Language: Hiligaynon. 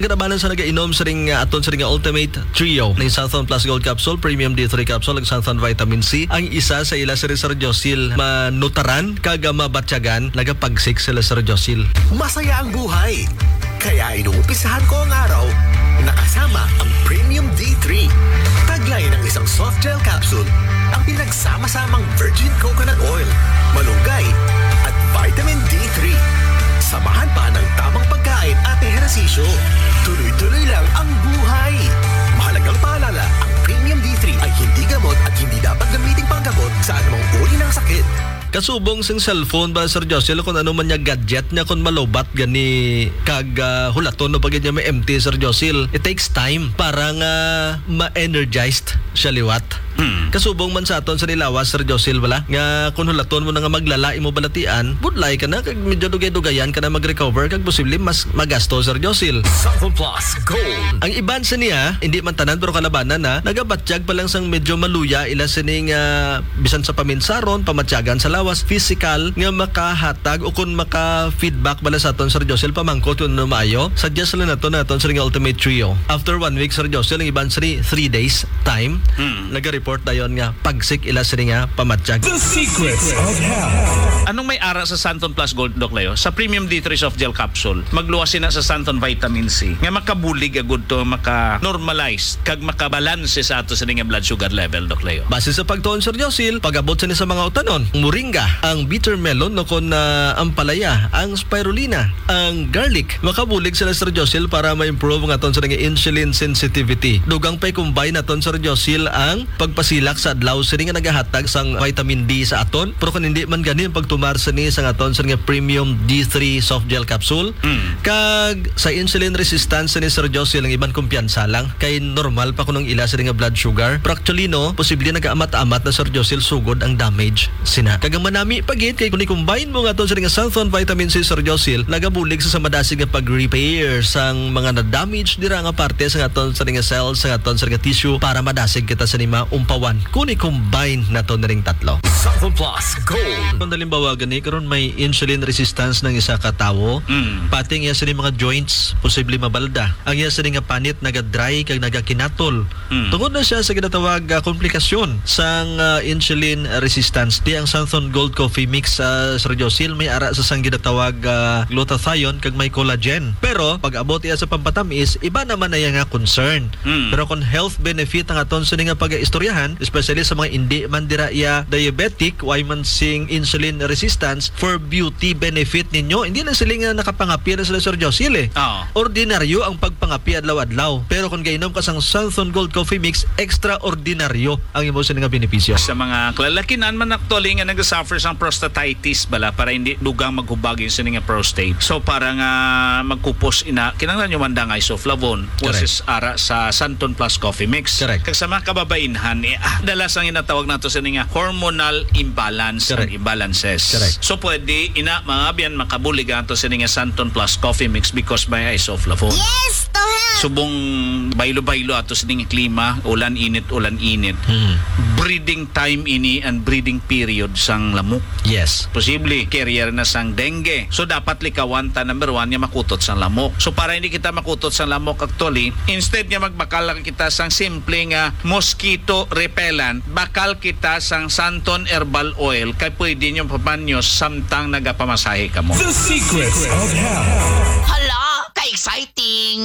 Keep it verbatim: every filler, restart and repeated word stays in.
Kanabanan sa nagainom sa ring, ah, aton sa ring Ultimate Trio, ning Santhon Plus Gold Capsule, Premium D three Capsule, ug Santhon Vitamin C, ang isa sa ila sa Sir Josil manutaran kag, ah, mabatyagan, nagapagsik sila Sir Josil. Masaya ang buhay. Kaya inumpisahan ko ang araw nakasama ang Premium D three. Taglay ng isang soft gel capsule ang pinagsama-samang virgin coconut oil, malunggay, at vitamin D three. Samahan pa ng tamang pagkain at ehersisyo. Tuloy-tuloy lang ang buhay. Mahalagang paalala, ang Premium D three ay hindi gamot at hindi dapat gamitin panggamot sa anumang uri ng sakit. Kasubong sing cellphone ba, Sir Josil, kung ano man niya gadget niya, kung malubat gani kag, ah, hulaton no pagid niya may empty, Sir Josil, it takes time para nga ma-energized siya liwat. Hmm. Kasubong man sa aton sa nilawas, Sir Josil, bala, nga kung hulaton mo na nga maglala imo balatian, budlay ka na, kag medyo dugay-dugayan ka na mag-recover, kag posible mas magasto, Sir Josil. Santhon Plus Gold. Ang iban sa niya, hindi man tanan, pero kalabanan na, nagabatyag pa lang sang medyo maluya ila sining, ah, bisan sa paminsaron, pamatyagan sa lawas, physical, nga makahatag o kung maka-feedback bala sa aton, Sir Josil, pamangkot kung ano maayo. Suggest lang nato na aton sa ring Ultimate Trio. After one week, Sir Josil, ang iban sa three days time, Hmm. naga-report dayon nga pagsik ila sini nga pamatyag. The Secrets of Health. Anong may ara sa Santon Plus Gold, Doc Leo? Sa Premium D three Soft Gel Capsule, magluwas sina sa Santon Vitamin C nga makabulig agud to, maka-normalize kag makabalanse sa ato sini nga blood sugar level, Doc Leo. Base sa pagtuon, Sir Josil, pag-abot sini sa mga utanon, moringa, ang bitter melon, no, kon, ah, ampalaya, ang spirulina, ang garlic, makabulig sila, Sir Josil, para ma-improve ang aton sini nga insulin sensitivity. Dugang pa i-combine naton, Sir Josil, ang pagpasilak sa adlaw sini nga nagahatag sang vitamin D sa aton. Pero kung hindi man gani ang pagtumar sini sa aton sini nga premium D three soft gel capsule, Mm. kag sa insulin resistance sini, Sir Josil, ang iban kumpiyansa lang. Kay normal pa kuno ang ila sini nga blood sugar. Pero actually, no, posible nagaamat-amat na, Sir Josil, sugod ang damage sina. Kag ang manami pa gid kay kung i-combine mo nga aton sini nga Santhon Vitamin C, Sir Josil, nagabulig sa, sa madasig nga pag-repair sang mga na-damage dira nga parte sa aton sini nga cells, sa aton sini nga tissue para madasig kita sa nima umpawan. Kung i-combine nato na ring tatlo. Santhon Plus Gold. Kung halimbawa gani, karon may insulin resistance ng isa ka tawo, Mm. pati ang iya sini mga joints posible mabalda. Ang iya sini nga panit naga-dry kag nagakinatol. Mm. Tungod na siya sa ginatawag, ah, komplikasyon sang, ah, insulin resistance. Di ang Santhon Gold Coffee Mix, ah, Sir Josil, may ara sa sang ginatawag, ah, glutathione kag may collagen. Pero pag abot iya sa pampatamis, iba naman na iya nga concern. Mm. Pero kung health benefit ang aton sini nga pag-istoryahan, especially sa mga indi man dira iya diabetic, way man sing insulin resistance, for beauty benefit ninyo, hindi na sila nga nakapangapi na sila, Sir Josil, eh. Oo. Ordinaryo ang pagpangapi adlaw-adlaw. Pero kung gainom ka sang Santhon Gold Coffee Mix, extraordinaryo ang imo sini nga benepisyo. Sa mga kalalakinan man actually nga nagasuffer sang prostatitis bala, para hindi dugang maghubag yung sini nga prostate. So para nga magkupos ina, kinahanglan nyo man dang isoflavone, which Correct. is ara sa Santon Plus Coffee Mix. Correct. Kag sa mga kababainhan, eh, ah, dalas ang ginatawag nato sini nga hormonal imbalance, Correct. ang imbalances. Correct. So pwede ina, mga abyan, makabulig ato sini nga Santon Plus Coffee Mix because may isoflavone. Yes, to help. Subong baylo-baylo ato sini nga klima, ulan init, ulan init. Hmm. Breeding time ini and breeding period sang lamok. Yes. Posible, carrier na sang dengue. So, dapat likawan ta, number one, nga makutot sang lamok. So, para hindi kita makutot sang lamok, actually, instead nga magbakal lang kita sang simple nga mosquito repellent, bakal kita sang Santon Herbal Oil, kay pwede nyo pamanyos samtang nagapamasahe kamo. The Secrets of Health. Hala, ka-exciting!